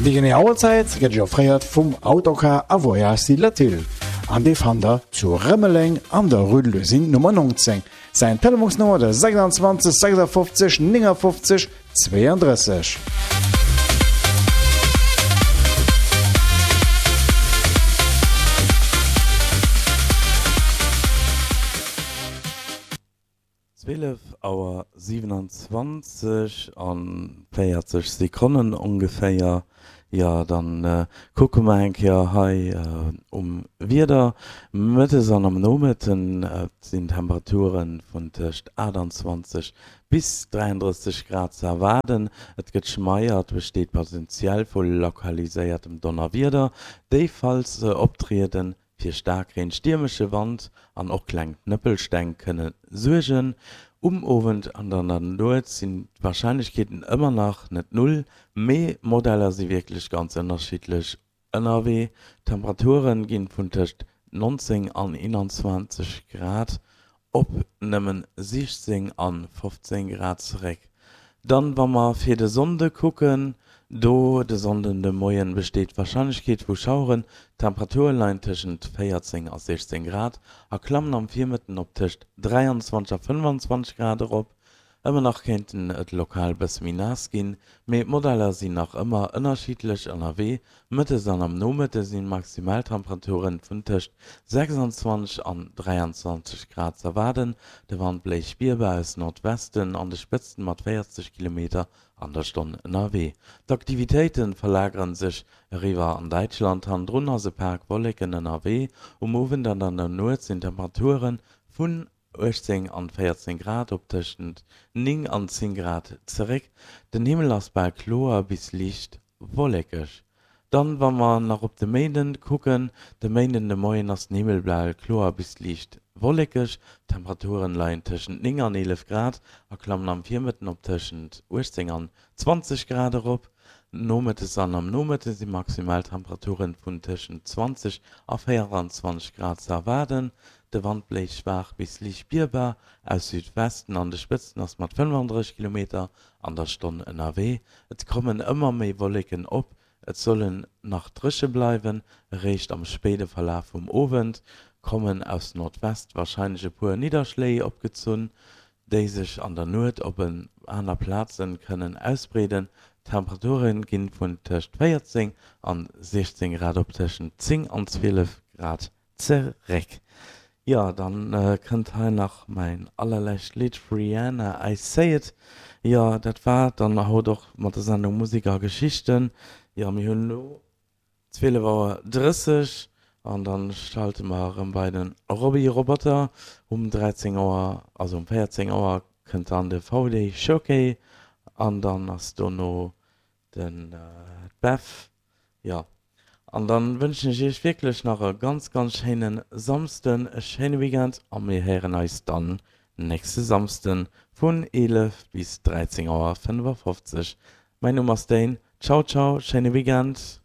Déi genee Auerzäit gëtt Iech offréiert vum Autocar a Voyage Silatille an dee fannt der zu Rëmeleng an der Rue de l'Usine Nummer 19. Säin Telefonsnummer de 26 56 59 32. 12 Auer 27 an 40 Sekonnen ongeféier. Jo, dann kucke mer eng Kéier hei um Wieder. Mëttes an am Nomëtten sinn Temperature vun tëscht 28 bis 33 Grad ze erwaarden. Et gëtt schmeier, et besteet Potential vu lokaliséiertem Donnerwieder, déi falls se optrieden Fir Staarkreen, stiermesche Wand an och kleng Knëppelsteng kënne suergen. Um Owend an an der Nuet sinn d'Warscheinlechkeeten ëmmer nach net null, mee d'Modeller si wierklech ganz ënnerschiddlech ënnerwee. D'Temperature ginn vun tëscht 19 an 21 Grad Op nëmmen 16 an 15 Grad zeréck. Dann wa mer fir de Sonnde kucken, do de Sonnden de Moien besteet d'Warscheinlechkeet vu Schaueren, d'Temperature leien tëschent 14 a 16 Grad a klammen am Virmëtten op tëscht 23 a 25 Grad erop. Ëmmer nach kéinten et lokal bësse méi naass ginn, mee d'Modeller sinn nach ëmmer ënnerschiddlech ënnerwee. Mëttes an am Nomëtte sinn Maximaltemperaturen vun tëscht 26 an 23 Grad z'erwaarden. De Wand bléist spierbar aus Nordwesten, an de Spëtzten mat 40 Kilometer an der Stonn ënnerwee. D'Aktivitéite verlagere sech eriwwer an Däitschland, hannendrun ass e Pak Wolleken ënnerwee. Um Owend an an der Nuet sinn Temperature vun 18 an 14 Grad op tëschent 9 an 10 Grad zeréck. Den Himmel ass bal kloer bis liicht wollekeg. Dann, wa mer nach op de Méinden kucken, De Méinden de Moien ass den Himmel bal kloer bis liicht wollekeg, d'Temperaturen leien tëschent 9 an 11 Grad a klammen am Virmëtten op tëschent 18 an 20 Grad erop. Nomëttes an am Nomëtte si Maximaltemperaturen vun tëschent 20 a 24 Grad ze erwaarden. De Wand bléist schwaach bis liicht spierbar aus Südwesten, an de Spëtzten ass mat 35 Kilometer an der Stonn ënnerwee. Et kommen ëmmer méi Wolleken op, et sollen nach dréche bleiwen. Eréischt am spéide Verlaf vum Owend kommen aus Nordwest warscheinlech e puer Nidderschléi opgezunn, déi sech an der Nuet op en aner Plaze kënnen ausbreeden. D'Temperature ginn vun tëscht 14 an 16 Grad op tëschent 10 an 12 Grad zeréck. Jo, dann kënnt hei nach mäin allerlescht Lidd, Rihanna, I Say It. Jo, dat war et dann haut och mat der Sendung Musek a Geschichten. Jo, mir hunn elo 12 Auer 30 an dann schalte mer erëm bei den Roby Roboter. Um 13 Auer, also um 14 Auer kënnt dann de VD Showcase an dann ass dono Den Beff, jo. An dann wënschen ech iech wierklech nach e ganz ganz schéinen Samsden, e schéine Weekend a mir héieren eis dann nächste Samsden vun 11 bis 13 Auer 55. Mäin Numm ass Dane. Ciao ciao, schéine Weekend.